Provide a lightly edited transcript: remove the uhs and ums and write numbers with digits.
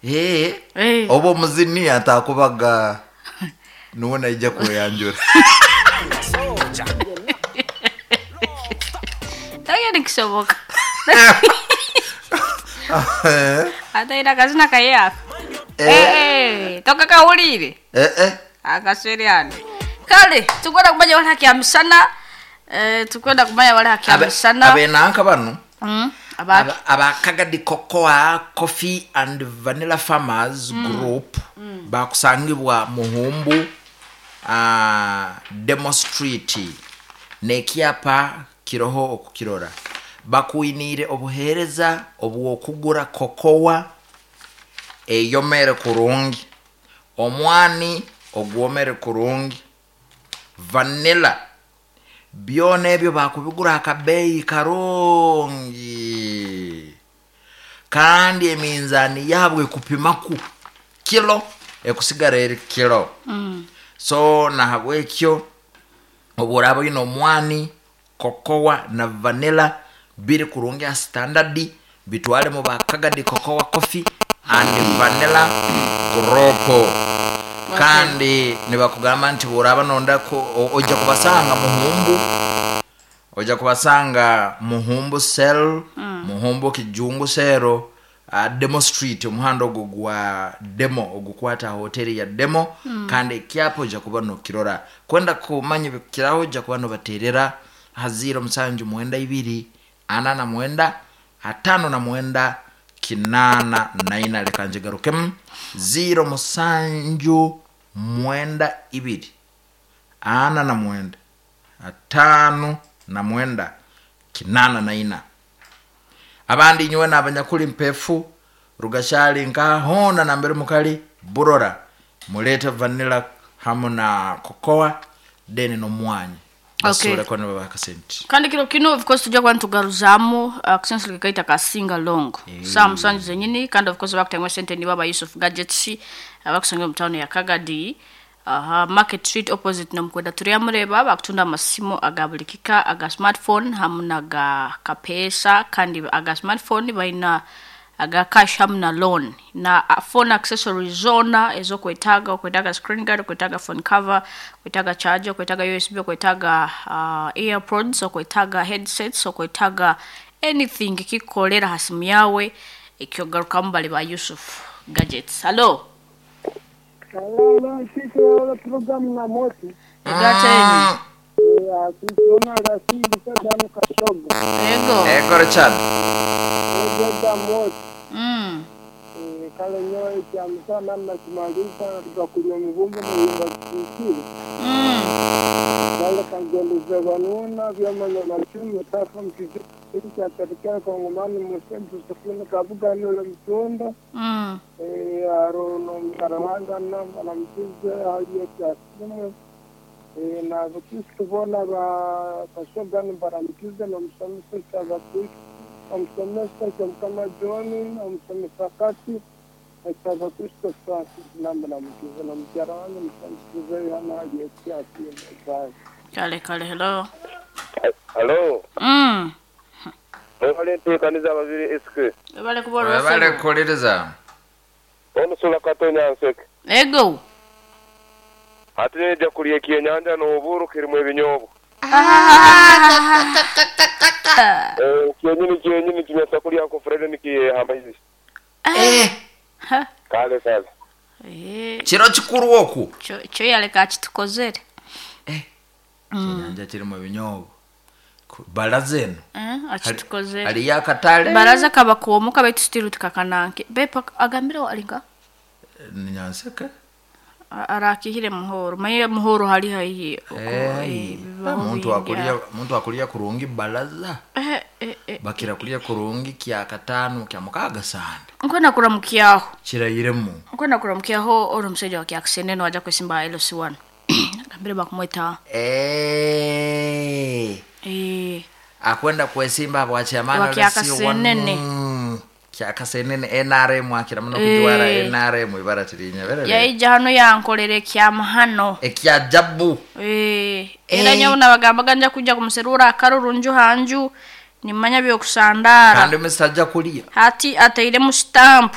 Eh, Eh. oba omuzini atakubaga nuwe naija kweyanjura. Nakyo nikisoboka. Ataine akazina kaye aka. Eh, tokakahuriire? Eh, eh. Akaswere hano. Kale, tukwenda kumanya wali haki ya misana. Eh, tukwenda kumanya wali haki ya misana. Abenanka bano Abaki. Aba Kagadi Cocoa Coffee and Vanilla Farmers Group bakusangibwa Muhumbu, Demo Street, n'ekyapa kiroho okukirora. Bakwiniire obuheereza obw'okugura kokowa eyomere kurungi, omwani ogwomere kurungi, vanilla, byona ebyo bakubigura akabeeyi karungi, kandi eminzaani yaabwe ekupimaku kilo ekusigara eri kilo. So nahabwekyo obu oraaba oine omwani, kokowa na vanilla biri kurungi aha standard, bitware mu ba Kagadi Cocoa Coffee and Vanilla Group. Kandi nibakugamba nti bworaba nonda oija kubasanga Muhumbu, oija kubasanga Muhumbu Cell, Muhumbu Kijungu Cell, Demo Street, omuhanda ogwo gwa Demo ogukwata hoteri ya Demo. Kandi ekyapa oija kuba nokirora. Kwenda kumanya ebikukiraho oija kuba nobaterera aha 0 musanju mwenda ibiri ana na mwenda atano na mwenda kinaana na ina. Leka njigarukemu, 0 musanju mwenda ibiri ana na mwenda atano na mwenda kinaana na ina. Abandi nyowe n'abanyakuli mpefu rugashali nka hona nambere mukali burora, mulete vanilla hamu na kokoa deni n'omwanya basobole kuba nibabaha akasente. Kandi kiro kino of course tujja kuba nitugaruzamu akasenso kekaita ka sing along saa 7 zenyini. Kandi of course bakutangwa sente nibo aba Yusuf Gadgets abakusanga mu town ya Kagadi, aha Market Street opposite nomukwenda turiyamureba. Bakutunda amasimu aga buli kika, aga smartphone hamu naga kapesa. Kandi aga smartphone balina aga cash hamu na loan na phone accessories zona ezokwetaaga. Okwetaaga screen guard, okwetaaga phone cover, okwetaaga charger, okwetaaga USB, okwetaaga earpods, okwetaaga headsets, okwetaaga anything kikukolera ha simu yawe, ekyogarukamu bali ba Yusuf Gadgets. Hello. Hello, sisi wala programu na moto. Egateni. Sisi rasidi sasa kashoga. Ego. Ego Richard. Ego moto. Kale nyowe kyamisana nakimaliza tukakunywa mivumbi na yumba kikiri. Kale kangendeze banuna vyama vya machumi safa mkizi katika kongomani musembu sifuni kabuga nule mtunda. Arono mkarawanga na mwanamkize hali ya kiasimu. Na bakristo bona ba kashoga ni baramkize na msomesa cha bakristo, msomesa cha mkama John, msomesa kati cha bakristo sasa na mwanamkize na mkarawanga msomesa yana hali ya kiasimu. Kale kale, hello. Hello. Mwebale nteekaniza ababiri SK. Webale kuba Webale kukuliriza. Omusula Katonya Nseke. Ego. Ate nja kulya ekyenyanja n'oburo kirimu ebinyobwa. Kyenyini kyenyini kinyasa kulya nko Fred nikiyehamba hizi. Kale kale. Kiro kikuru oku. Kyo yaleka akitukozere. Ekyenyanja kirimu ebinyobwa. Baraza eno. Akitukozere. Hariyo akatale. Baraza kaba kwomuka baitu still tukakananke. Bepa agambire alinga? Ni Nyanseke. Arakihire muhoro. Maye muhoro hali haihi. Muntu akulia, muntu akulia kurungi baraza. Bakira kulia kurungi kya katano kya mukaga sana. Nkwenda kuramukiaho. Kirayiremu. Nkwenda kuramukiaho ori omushaija wa Kyakisene waja kwesimba LC1. Agambire bakumweta. Akwenda kwesimba bwa chairman Wa Kyakasenene. Kyakasenene NRM akira muno kujwara NRM ibara tirinya berere. Yaija hano yankorere kyamahano. Ekyajabu. Era nyawo nabagambaga nja kuja kumuserura akarurunju hanju nimanya byokusandara. Kandi misajja kulia. Hati ateire mu stamp.